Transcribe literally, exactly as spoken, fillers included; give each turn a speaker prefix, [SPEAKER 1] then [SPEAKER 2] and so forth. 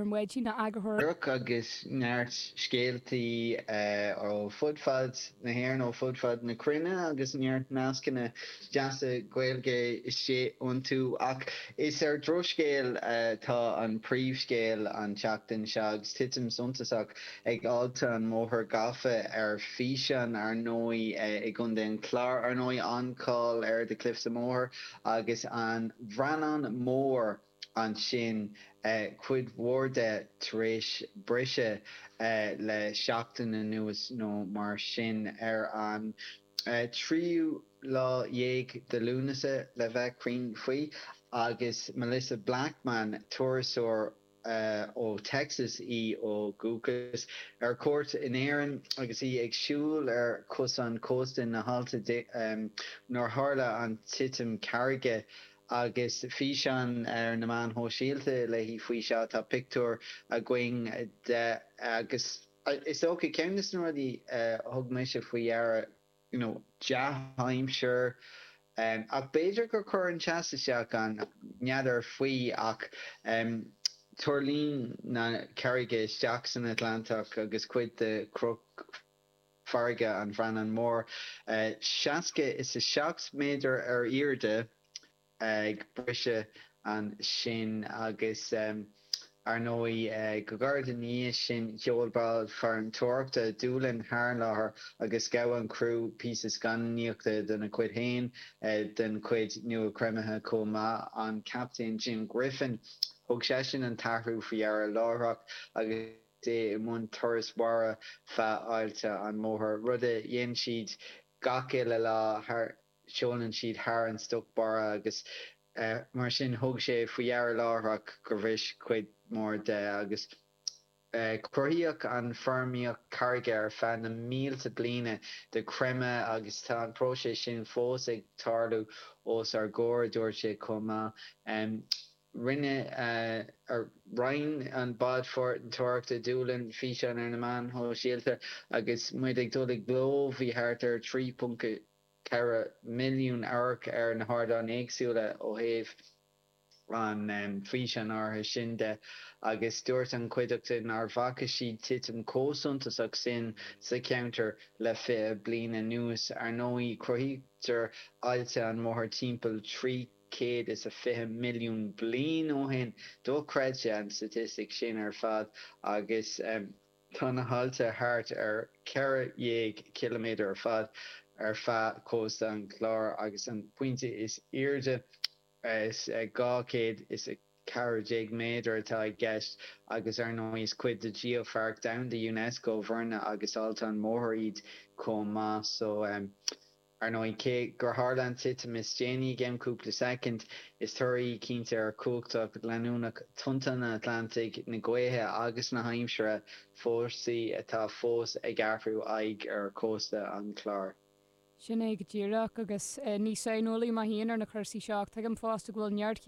[SPEAKER 1] maidin a eagarthóir.
[SPEAKER 2] Agus neart scéaltaí ó fud fad na hÉireann ó fud fad na cruinne agus neart nascanna deasa Gaeilge istigh iontu ach is ar drochscéal tá an príomhscéal an tseachtain seo agus titim suntasach ag Aillte an Mhothair gafa ar físeán ar ndóigh i gContae an Chláir ar ndóigh an-cháil ar The Cliffs of Moher agus an Bhreathnán Mór ansin cuid mhór de tar éis briseadh le seachtain anuas nó mar sin ar an tríú lá dhéag de Lúnasa le bheith cruinn faoi agus Melissa Blackman turasóir ó Texas í ó dhúchas ar cuairt in Éirinn agus í ag siúl ar chosán cósta na haillte nuair tharla an titim carraige agus físeán ar na meáin shóisialta léi faoi seo tá pictiúr againn de agus is dócha ceann de na rudaí thug mise faoi deara you know dea-aimsir um, ach b'fhéidir gur chuir an teas isteach an n'fheadar faoi ach um, tuirlín na carraige isteach san Atlantach agus cuid de chnoc farraige an Bhreathnán Mór uh, seasca is a seacht méadar ar airde ag briseadh ansin agus um, ar ndóigh uh, go gairid ina dhiaidh sin sheol bád farantóireachta Doolin thar an láthair agus ghabh an criú píosa scannánaíochta den chuid féin uh, den chuid nua creimthe chomh maith an captaen Jim Griffin thug seisean an t-athrú faoi deara láithreach agus é i mbun turas mara feadh Aillte an Mhothair rud a dhéanann siad gach uile lá thar siúlann siad thar an stoc mara agus uh, mar sin thug sé faoi deara láithreach gur bhris cuid mór de agus uh, cruthaíodh an fhoirmíocht carraige ar feadh na mílte bliana de chreimeadh agus tá an próiseas sin fós ag tarlú os ár gcomhair dúirt sé chomh maith. Um, Rinne uh, ar roinn an bád farantóireachta Doolin físeán ar na meáin shóisialta agus muid ag dul i gcló bhí thart ar trí ponc ceithre milliún amharc ar na hardáin éagsúla ó thaobh an um, físeán áirithe sin de agus dúirt an chuideachta nár bhfaca siad titim chomh suntasach sin sa cheantar le fiche bliain anuas ar ndóigh cruthaítear Aillte an Mhothair timpeall trí chéad is a fiche milliún bliain ó shin dochreidte an statistic sin ar fad agus um, tá na haillte thart ar ceithre dhéag ciliméadar ar fad ar feadh cósta an Chláir agus an pointe is airde is dhá chéad is a ceathair déag méadar atá i gceist agus ar ndóigh is cuid de Gheopháirc Domhanda UNESCO Bhoirne agus Aillte an Mhothair iad chomh maith so um, ar ndóigh cé gur tharla an titim is déanaí i gceann cúpla soicind is toradh cinnte ar chumhacht leanúnach tonnta an Atlantaigh na gaoithe agus na haimsire fórsaí atá fós ag athrú aghaidh ar chósta an Chláir.
[SPEAKER 1] Sin é go díreach agus eh, ní saineolaí mé féin ar na cúrsaí seo tuigim fosta go bhfuil neart